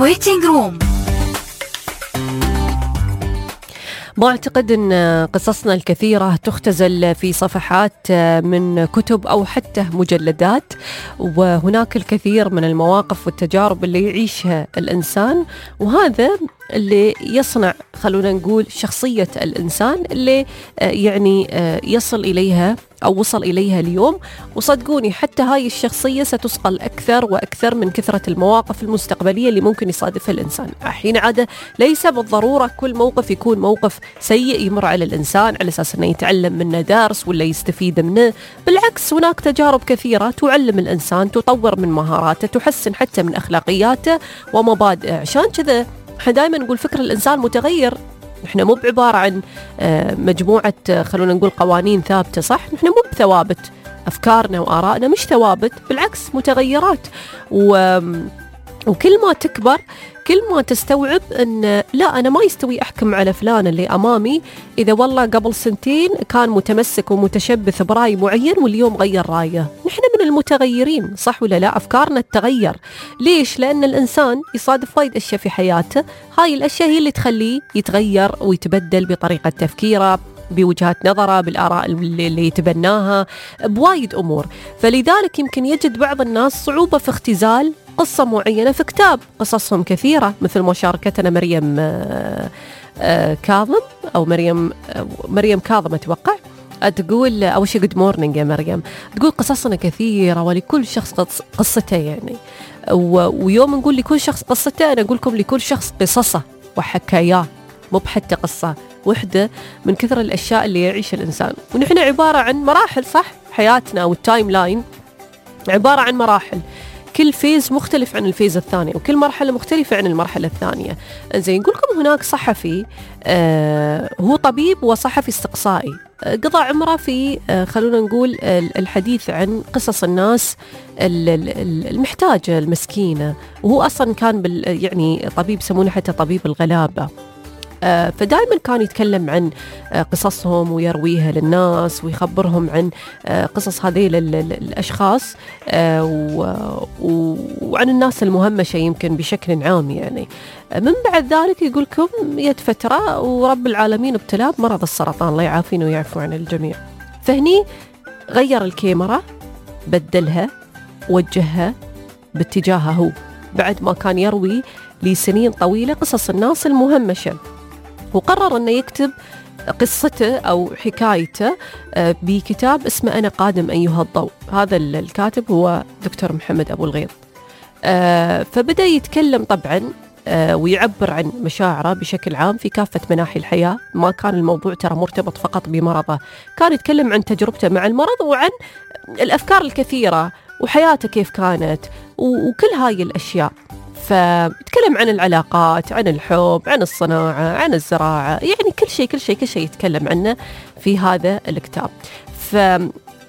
waiting room. ما أعتقد أن قصصنا الكثيرة تختزل في صفحات من كتب أو حتى مجلدات، وهناك الكثير من المواقف والتجارب اللي يعيشها الإنسان، وهذا اللي يصنع خلونا نقول شخصية الإنسان اللي يعني يصل إليها أو وصل إليها اليوم. وصدقوني حتى هاي الشخصية ستثقل أكثر وأكثر من كثرة المواقف المستقبلية اللي ممكن يصادفها الإنسان. حين عادة ليس بالضرورة كل موقف يكون موقف سيء يمر على الإنسان على أساس أنه يتعلم منه درس ولا يستفيد منه، بالعكس هناك تجارب كثيرة تعلم الإنسان، تطور من مهاراته، تحسن حتى من أخلاقياته ومبادئه. عشان كذا احنا دائما نقول فكر الإنسان متغير. نحن مو بعبارة عن مجموعة خلونا نقول قوانين ثابتة، صح؟ نحن مو بثوابت، أفكارنا وآرائنا مش ثوابت، بالعكس متغيرات. وكل ما تكبر كل ما تستوعب أن لا، أنا ما يستوي أحكم على فلان اللي أمامي إذا والله قبل سنتين كان متمسك ومتشبث برأي معين واليوم غير رأيه. نحن من المتغيرين، صح ولا لا؟ أفكارنا تتغير. ليش؟ لأن الإنسان يصادف وايد أشياء في حياته، هاي الأشياء هي اللي تخليه يتغير ويتبدل بطريقة تفكيره، بوجهات نظره، بالآراء اللي يتبناها، بوايد أمور. فلذلك يمكن يجد بعض الناس صعوبة في اختزال قصة معينة في كتاب. قصصهم كثيرة، مثل ما شاركتنا مريم كاظم أو مريم كاظم أتوقع، تقول أول شيء good morning يا مريم، تقول قصصنا كثيرة ولكل شخص قصته يعني. ويوم نقول لكل شخص قصته، أنا أقول لكم لكل شخص قصصه وحكاياه، مو بحتى قصة وحدة من كثر الأشياء اللي يعيش الإنسان. ونحن عبارة عن مراحل، صح؟ حياتنا والتايم لاين عبارة عن مراحل، كل فيز مختلف عن الفيز الثاني، وكل مرحلة مختلفة عن المرحلة الثانية. زي نقول لكم هناك صحفي هو طبيب وصحفي استقصائي، قضى عمره في خلونا نقول الحديث عن قصص الناس المحتاجة المسكينة، وهو أصلا كان يعني طبيب يسمونه حتى طبيب الغلابة. فدائما كان يتكلم عن قصصهم ويرويها للناس ويخبرهم عن قصص هذه الأشخاص وعن الناس المهمشة يمكن بشكل عام يعني. من بعد ذلك يقول لكم يد فترة ورب العالمين ابتلاه بمرض السرطان، الله يعافينا ويعفو عن الجميع. فهني غير الكاميرا، بدلها، وجهها باتجاهه هو، بعد ما كان يروي لسنين طويلة قصص الناس المهمشة، وقرر أنه يكتب قصته أو حكايته بكتاب اسمه أنا قادم أيها الضوء. هذا الكاتب هو دكتور محمد أبو الغيط. فبدأ يتكلم طبعا ويعبر عن مشاعره بشكل عام في كافة مناحي الحياة. ما كان الموضوع ترى مرتبط فقط بمرضه، كان يتكلم عن تجربته مع المرض وعن الأفكار الكثيرة وحياته كيف كانت وكل هاي الأشياء. فيتكلم عن العلاقات، عن الحب، عن الصناعة، عن الزراعة، يعني كل شيء يتكلم عنه في هذا الكتاب.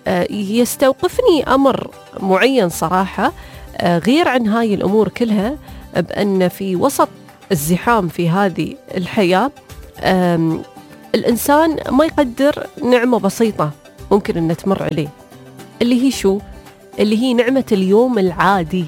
فيستوقفني أمر معين صراحة غير عن هاي الأمور كلها، بأن في وسط الزحام في هذه الحياة الإنسان ما يقدر نعمة بسيطة ممكن أن تمر عليه، اللي هي شو؟ اللي هي نعمة اليوم العادي.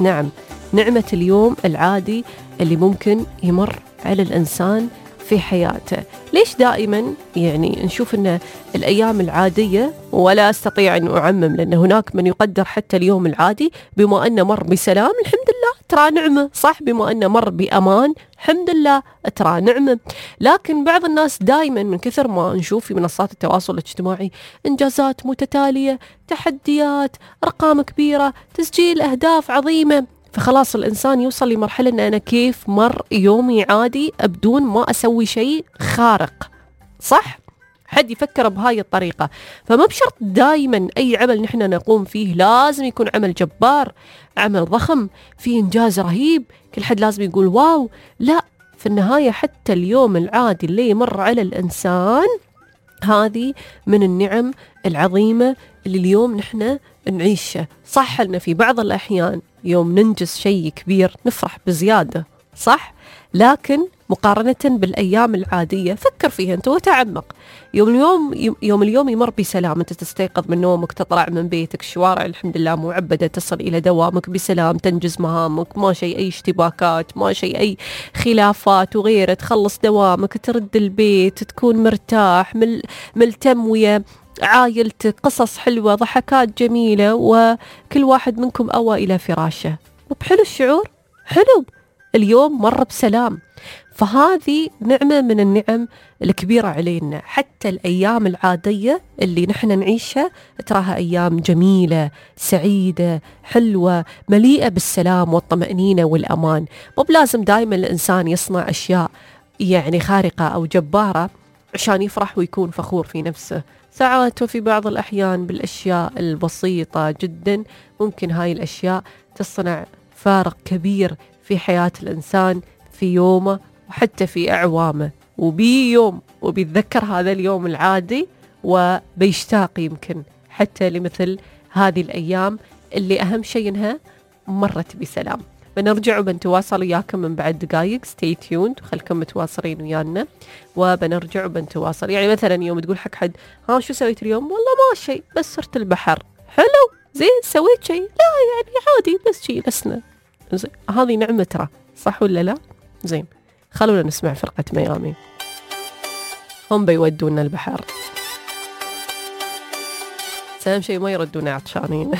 نعم، نعمة اليوم العادي اللي ممكن يمر على الإنسان في حياته. ليش دائما يعني نشوف أن الأيام العادية، ولا أستطيع أن أعمم لأن هناك من يقدر حتى اليوم العادي بما أنه مر بسلام الحمد لله ترى نعمة، صح؟ بما أنه مر بأمان الحمد لله ترى نعمة. لكن بعض الناس دائما من كثر ما نشوف في منصات التواصل الاجتماعي إنجازات متتالية، تحديات، أرقام كبيرة، تسجيل أهداف عظيمة، فخلاص الإنسان يوصل لمرحلة أن أنا كيف مر يومي عادي بدون ما أسوي شيء خارق، صح؟ حد يفكر بهاي الطريقة. فما بشرط دايما أي عمل نحن نقوم فيه لازم يكون عمل جبار، عمل ضخم فيه إنجاز رهيب كل حد لازم يقول واو. لا، في النهاية حتى اليوم العادي اللي يمر على الإنسان هذه من النعم العظيمة اللي اليوم نحن نعيشه. صح لنا في بعض الأحيان يوم ننجز شيء كبير نفرح بزيادة، صح؟ لكن مقارنة بالأيام العادية فكر فيها أنت وتعمق. يوم اليوم يمر بسلام، أنت تستيقظ من نومك، تطلع من بيتك، الشوارع الحمد لله معبدة، تصل إلى دوامك بسلام، تنجز مهامك، ما شيء أي اشتباكات، ما شيء أي خلافات وغيره، تخلص دوامك، ترد البيت، تكون مرتاح ملتم ويا عائلتك، قصص حلوة، ضحكات جميلة، وكل واحد منكم أوى إلى فراشه. وبحلو الشعور، حلو اليوم مر بسلام. فهذه نعمة من النعم الكبيرة علينا. حتى الأيام العادية اللي نحن نعيشها تراها أيام جميلة سعيدة حلوة مليئة بالسلام والطمأنينة والأمان. مو بلازم دائما الإنسان يصنع أشياء يعني خارقة أو جبارة عشان يفرح ويكون فخور في نفسه. ساعات وفي بعض الأحيان بالأشياء البسيطة جدا ممكن هاي الأشياء تصنع فارق كبير في حياة الإنسان في يومه وحتى في أعوامه، وبيوم وبيتذكر هذا اليوم العادي وبيشتاق يمكن حتى لمثل هذه الأيام اللي أهم شيء إنها مرت بسلام. بنرجع وبنتواصل وياكم من بعد دقايق. stay tuned وخلكم متواصلين ويانا وبنرجع وبنتواصل. يعني مثلا يوم تقول حق حد ها شو سويت اليوم؟ والله ما شيء بس صرت البحر. حلو زين سويت شيء؟ لا يعني عادي بس شيء لسنا. زين هذه نعمة ترى، صح ولا لا؟ زين خلونا نسمع فرقة ميامي، هم بيودونا البحر. أهم شيء ما يردونا عطشانين.